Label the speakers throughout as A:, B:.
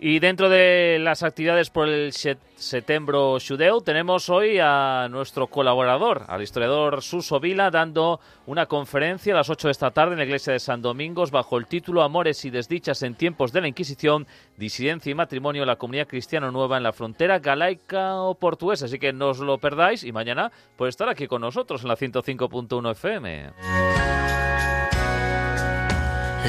A: Y dentro de las actividades por el Setembro Xudeu tenemos hoy a nuestro colaborador, al historiador Suso Vila, dando una conferencia a las 8 de esta tarde en la iglesia de San Domingos bajo el título Amores y desdichas en tiempos de la Inquisición, disidencia y matrimonio en la comunidad cristiana nueva en la frontera galaica o portuguesa. Así que no os lo perdáis y mañana puede estar aquí con nosotros en la 105.1 FM.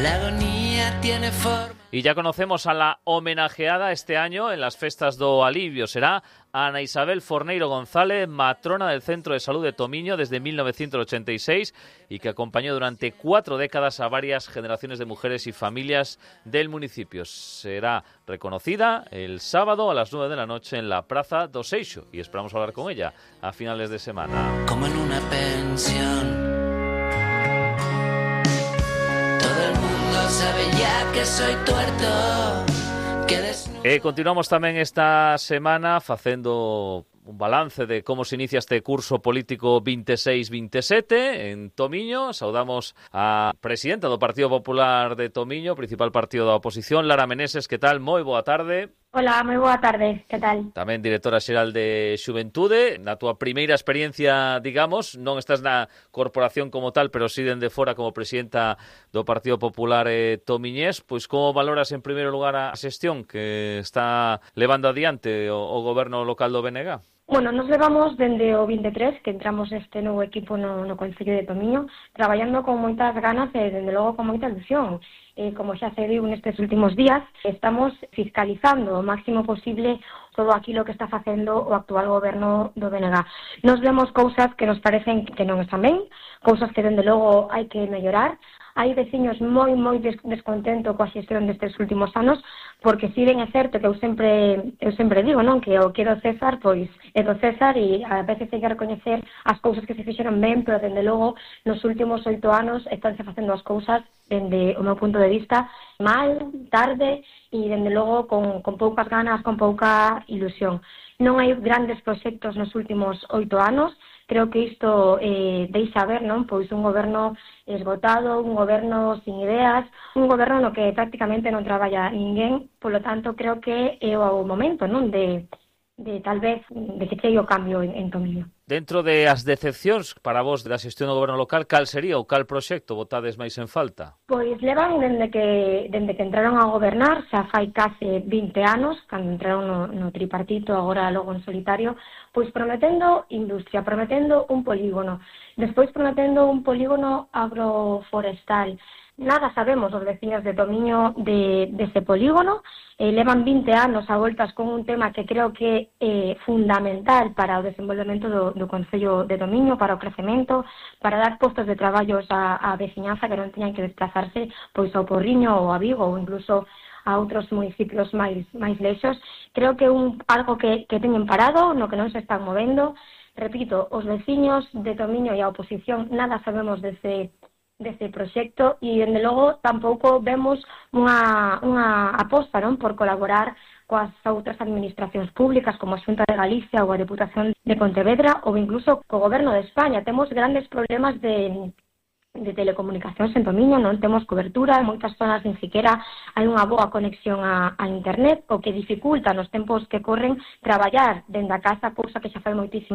B: La agonía tiene forma.
A: Y ya conocemos a la homenajeada este año en las festas do Alivio. Será Ana Isabel Forneiro González, matrona del Centro de Salud de Tomiño desde 1986 y que acompañó durante 4 décadas a varias generaciones de mujeres y familias del municipio. Será reconocida el sábado a las 9 de la noche en la Praza do Seixo y esperamos hablar con ella a finales de semana.
B: Como en una pensión. Sabe ya que soy tuerto, que
A: continuamos tamén esta semana facendo un balance de como se inicia este curso político 26-27 en Tomiño. Saudamos a presidenta do Partido Popular de Tomiño, principal partido da oposición, Lara Meneses. Que tal? Moi boa tarde.
C: Hola, moi boa tarde, que tal?
A: Tamén directora xeral de Xuventude. Na túa primeira experiencia, digamos, non estás na corporación como tal, pero sí dende fora como presidenta do Partido Popular tomiñés. Pois como valoras en primeiro lugar a xestión que está levando adiante o goberno local do BNG?
C: Bueno, nos levamos dende o 23, que entramos este novo equipo no Concello de Tomiño, traballando con moitas ganas e, dende logo, con moita ilusión. Como xa se viu nestes últimos días, estamos fiscalizando o máximo posible todo aquilo que está facendo o actual goberno do BNG. Nos vemos cousas que nos parecen que non están ben, cousas que, dende logo, hai que mellorar. Hai veciños moi descontento coa xestión destes últimos anos, porque si ben é certo que eu sempre digo, non, que o que é do César, pois é do César, e a veces hai que recoñecer as cousas que se fixeron ben, pero dende logo nos últimos 8 anos estánse facendo as cousas dende o meu punto de vista mal, tarde e dende logo con poucas ganas, con pouca ilusión. Non hai grandes proxectos nos últimos 8 anos. Creo que isto deixa ver, non? Pois un goberno esgotado, un goberno sin ideas, un goberno no que prácticamente non traballa ninguén. Polo tanto, creo que é o momento, non? De tal vez de que chegue o cambio en Tomiño.
A: Dentro de as decepcións para vos da xestión do goberno local, cal sería ou cal proxecto votades máis en falta?
C: Pois levan dende que entraron a gobernar, xa fai case 20 anos, cando entraron no tripartito, agora logo en solitario, pois prometendo industria, prometendo un polígono, despois prometendo un polígono agroforestal. Nada sabemos os veciños de Tomiño dese polígono. Levan 20 anos a voltas con un tema que creo que é fundamental para o desenvolvemento do Concello de Tomiño, para o crecemento, para dar postos de traballos á veciñanza que non teñan que desplazarse pois ao Porriño ou a Vigo ou incluso a outros municipios máis lexos. Creo que algo que teñen parado, no que non se están movendo. Repito, os veciños de Tomiño e a oposición nada sabemos dese proxecto e, dende logo, tampouco vemos unha aposta, non, por colaborar coas outras administracións públicas como a Xunta de Galicia ou a Deputación de Pontevedra ou incluso co Goberno de España. Temos grandes problemas de telecomunicacións en Tomiño, non temos cobertura, en moitas zonas nin siquiera hai unha boa conexión a internet, o que dificulta nos tempos que corren traballar dende a casa, cousa que xa fai moitísimo